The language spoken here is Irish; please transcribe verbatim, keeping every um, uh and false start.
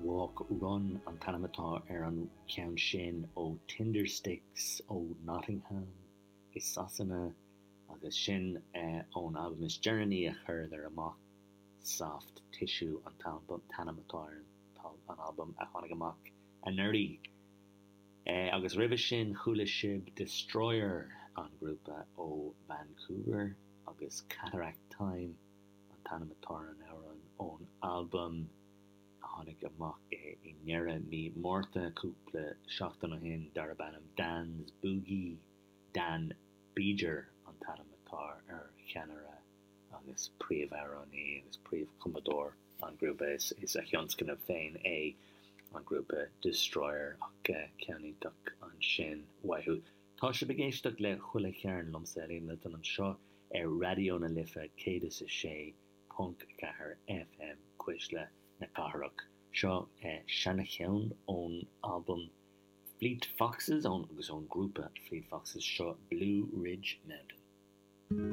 Walk Run an t-ainm atá ar an cheann sin ó Tindersticks ó Nottingham i Sasana agus sin ón albam is deireanaí a chuireadar amach, Soft Tissue an t-ainm atá ar an albam a tháinig amach anuraidh. Agus roimhe sin chuala sibh Destroyer, an grúpa ó Vancouver, agus Cataract Time an t-ainm atá ar an amhrán ón albam a tháinig amach i ndeireadh mí Márta, cúpla seachtain ó shin, darb ainm Dan's Boogie. Dan Bejar an t-ainm atá ar cheannaire agus príomhamhránaí agus príomhchumadóir an ghrúpa. Is a thionscnamh féin é an grúpa Destroyer ach ceann iontach ansin uathu. Tá sibh ag éisteacht le Chuile Chearn liomsa, Liam Milton, anseo ar Raidió na Life céad is a sé ponc ceathair FM, Cuisle na Cathrach. Seo seana-cheann ón albam Fleet Foxes ón agus ón grúpa Fleet Foxes, seo Blue Ridge Mountains.